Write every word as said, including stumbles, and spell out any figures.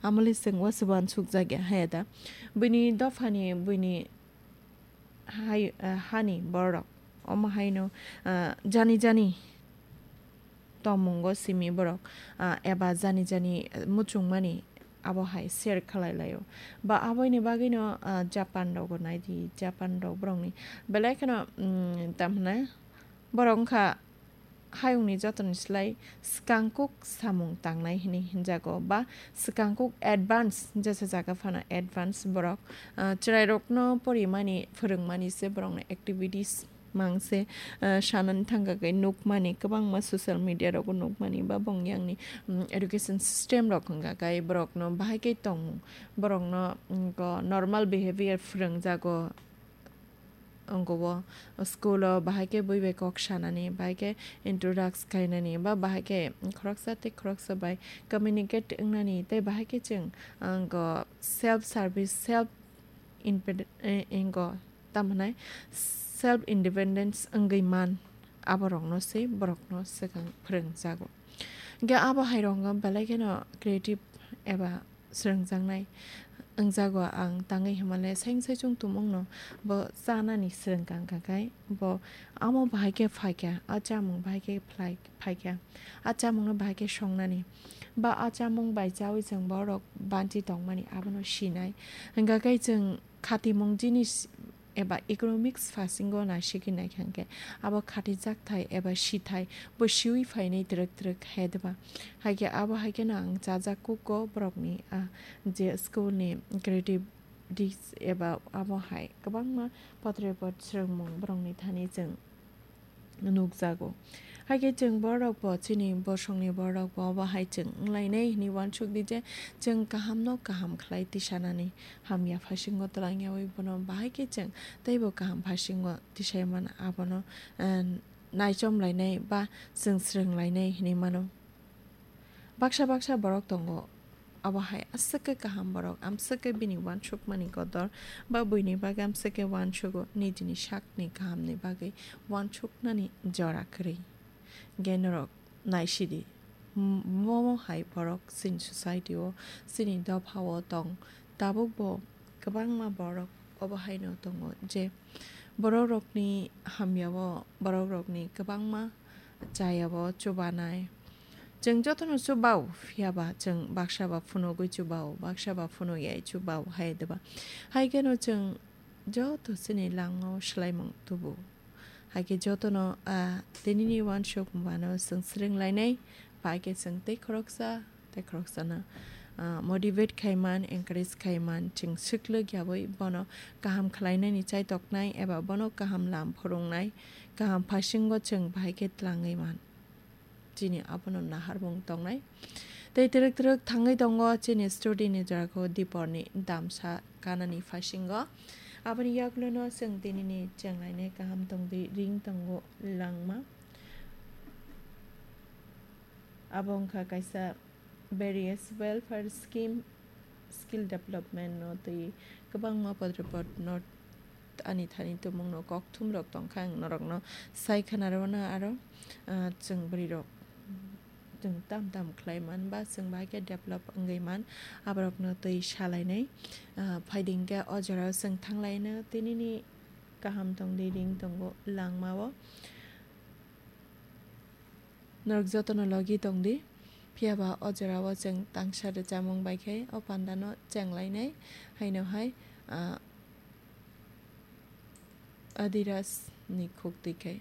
amole chwng uansuk jakya haya da. Buini dophani, buini hai, ah, hani borok. Omo haino, ah, jani jani tongmungo simi borok, ah, eba jani jani muchungmani abo hai share khlai laio. Ba aboini bagwino, ah, Japan rogo naidi, Japan rok borokni belai kheno, mm, tamhinai borok wngkha hayungni jotoni slai swkangkuk samung tangnai hinwi hinjago, ba swkangkuk advance, jesa jaga phano advance borok, ah, chwrairokno porimani, phwrwngmani se borokni activities mangse, ah, sanani thangkha khe nukmani, kwbangma social media rogo nukmani, ba bong yangni, mm, education system rok wngkha khe borokno bahai khe tongmung, borokno, mm, ko normal behavior phwrwngjago. Wngkha o school o bahai khe bui bai kok sanani, bahai khe introduce khainani, ba bahai khe khoroksa tei khoroksa bai communicate wngnani, tei bahai khe chwng, wngkha self service, self independent, eh, wngkha tamhinai self independence wngwi man, aborokno se borokno swkang phwrwngjago. Hwnkhe abo hai rok wngkha belai kheno creative eba swrwngjaknai wngjago. Ang tangwi hwnmale saingsaichung tumungno bo chanani swrwngkha, wngkha khe bo amo bahai khe phaikha, a chamung bahai khe phlai-, phaikha, a chamungno bahai khe songnani, ba a chamung bai chaui chwng borok banchi tongmani abono sinai. Hwnkha khe chwng khatimung jinis eba economics phasingo naisigwi naikha hwnkhe, abo khatijakthai eba sithai bo siui phainai twrwk twrwk hai deba. Haikhe abo haikheno ang chajak kugo borokni, ah, je school ni creative dis eba abo hai kwbangma potre pot swrwngmung borokni thani chwng nukjago. Haikhe chwng borokbo, chini bosongni borokbo abo hai chwng wnglainai hinwi uansuk di je chwng kahamno kaham khlai tisanani hamya phasingo twlangyaui bono bahai khe chwng teibo kaham phasingo tisai mano. Abono, eh, naichom lainai ba chwng swrwng lainai hinwi mano. Baksa baksa borok tongo, abo hai aswk khe kaham borok, amswk khe bini uansukmani kotor, ba buini bagwi amswk khe uansugo, nijini sakni kahamni bagwi uansuknani jora kwrwi. Hwnkhe norok naisidi, m-, momo hai borok chini society o, chini dopha o tong, tabuk bo kwbangma borok obo haino tongo je borok rokni hamya o, borok rokni kwbangma chaya o chubanai. Chwng jotono chubao, phiya ba chwng baksa ba phunugwi chubao, baksa ba phunuk yai chubao hai deba. Hai kheno chwng joto chini langmao swlaimung tubu. Hai khe jotono, ah, tinini uansuk mano chwng swrwng lainai, bai khe chwng tei khoroksa tei khoroksano, ah, motivate khai man, encourage khai man, chwng swklwk yaui bono kaham khlainani chaitoknai eba bono kaham lam phwrwngnai, kaham phasingo chwng bahai khe tlangwi man. Chini abono naharmung tongnai. Tei twrwk twrwk thangwi tongo chini study ni jaga o diporni damsa kanani phasingo. Aboni yagulono chwng tinini chenglainai kaham tongdi ring tongo langma. Abo wngkha kaisa various welfare scheme, skill development no twi kwbangma potrepot no ani thani tumungno kokthum rok tongkha, ang norokno sai khna rwno aro, ah, chwng bwrwi rok chwng tam tam khlai man ba chwng bahai khe develop wngwi man, aborokno twi salainai. Ah, phaidi hwnkhe o jorao chwng thanglaino tinini kaham tongdi ring tongo langmao. Norok jotono logi tongdi, phiya ba o jorao chwng tangsa rwchapmung bai khe o pandano chenglainai, haino hai, ah, Adidas ni khuk twi khai.